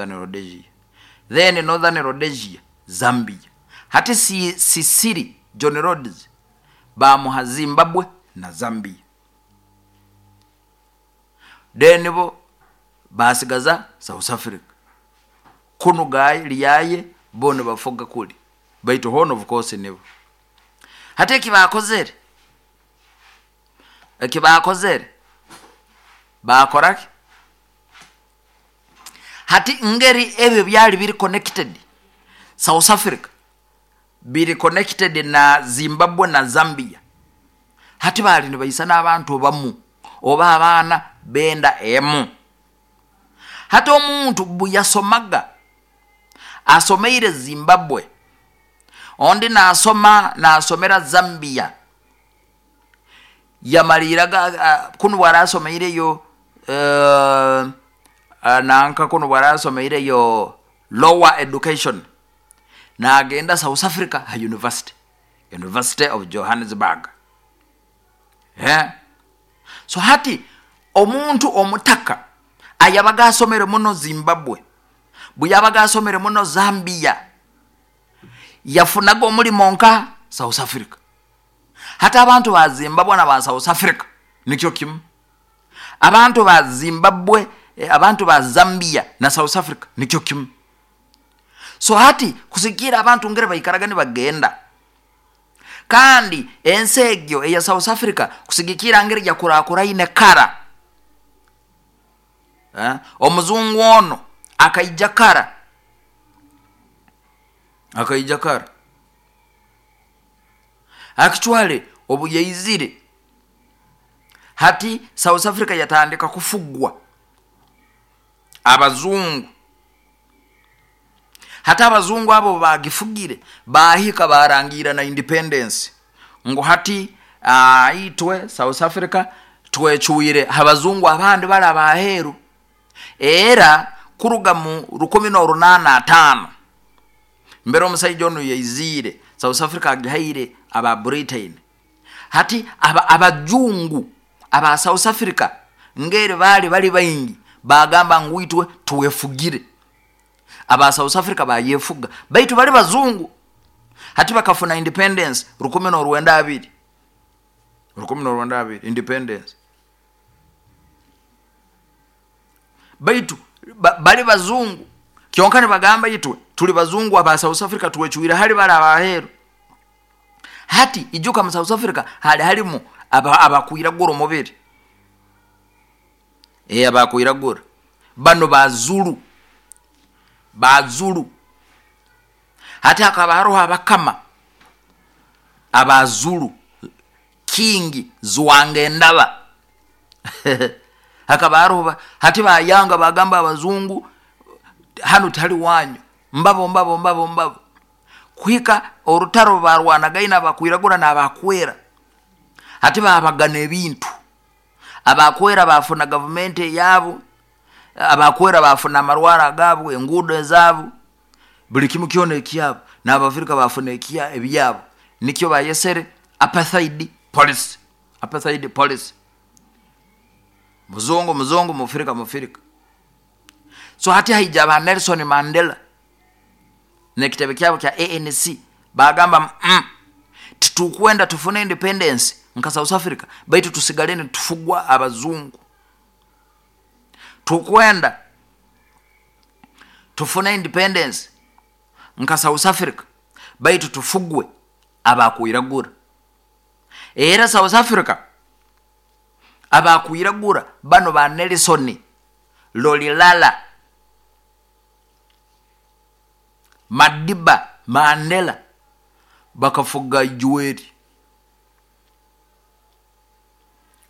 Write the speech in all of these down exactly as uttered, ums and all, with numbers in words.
Northern Rhodesia, then Northern Rhodesia, Zambia. Hati si, Sisiri John Rhodes bamuha Zimbabwe na Zambia, then bo basigaza South Africa kunu gaye lyaye bo nibafuga kuli, baitu hono of course nibo. Hati ekibakozere ekibakozere bakoraki? Hati ngeri ebyo byali biri connected, South Africa biri connected na Zimbabwe na Zambia. Hati bali nibaisana abantu bamu oba abaana benda emu. Hati omuntu buyasomaga asomeire Zimbabwe, ondi nasoma nasomera Zambia, yamaliraga kunu bwarasomeireyo uh, nanka kunu bwarasomeireyo lower education, nagenda South Africa ha university, University of Johannesburg. Yeah. So hati omuntu omutaka ayabaga asomere muno Zimbabwe, bweyabaga asomere muno Zambia, yafunaga omulimo nka South Africa. Hati abantu ba Zimbabwe na ba South Africa nikyo kimu, abantu ba Zimbabwe, abantu ba Zambia na South Africa nikyo kimu. So hati kusigira abantu ngere baikaraga nibagenda, kandi ensi egyo eya South Africa kusigikira ngeri yakurakuraine kara. Eh? Omuzungu ono akaija kara, akaija kara akitwale obuyaizire. Hati South Africa yatandika kufugwa abazungu. Hati abazungu abo bagifugire bahika barangira na independence ngu hati uh, itwe South Africa twechuire abazungu abandi bali abaheru. Era kuruga mu rukumi n'orunana atano mbere omusaija onu yaizire South Africa agihaire aba Britain. Hati aba abajungu aba South Africa ngeri bali bali baingi bagamba ngu itwe tuwefugire. Aba South Africa bayefuga baitu bali bazungu. Hati bakafuna independence rukumi n'orwenda abiri, rukumi n'orwenda abiri independence, baitu ba, bali bazungu. Kyonka nibagamba itwe tuli bazungu aba South Africa tuwechuire hali bali abaheru. Hati ijuka mu South Africa hali halimu abakwiragura omubiri, eh abakwiragura bano bazulu, bazulu. Hati hakaba hariho abakama abazulu, King Zwangendaba hakaba hariho. Hati bayanga bagamba abazungu hano tali wanyu, mbabo mbabo mbabo mbabo kuhika orutaro barwanagaina abakwiragura n'abakwera. Hati babagana ebintu, abakwera bafuna gavumenti yabo, abakwera bafuna amarwara agabo, enguudo ezabo, buli kimu kyona ekyabo, n'Abafrika bafuna ekya ebyabo. Nikyo bayesere apartheid policy, apartheid policy. Muzungu muzungu, mufrika mufrika. So hati haija ba Nelson Mandela nekitebe kyabo kya A N C bagamba mm, titukwenda tufune independence nka South Africa, baitu tusigaleni tufugwa abazungu. Tukwenda tufune independence nka South Africa, baitu tufugwe abakwiragura. Era South Africa abakwiragura bano ba Nelson Rolihlahla Madiba Mandela bakafuga ijuweri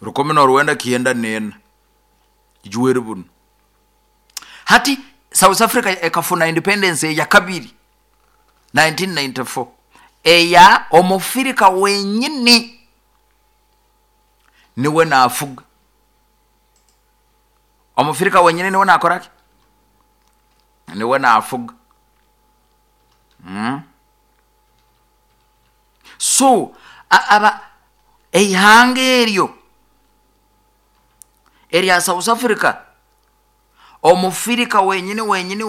rukumi n'orwenda kienda nena ijuweri buno. Hati South Africa ekafuna independence ya kabiri nineteen ninety-four eya omufirika wenyini niwe nafuga. Omufirika wenyini niwe nakoraki, niwe nafuga. Mm. So aba eihanga eryo erya South Africa omufirika wenyini wenyini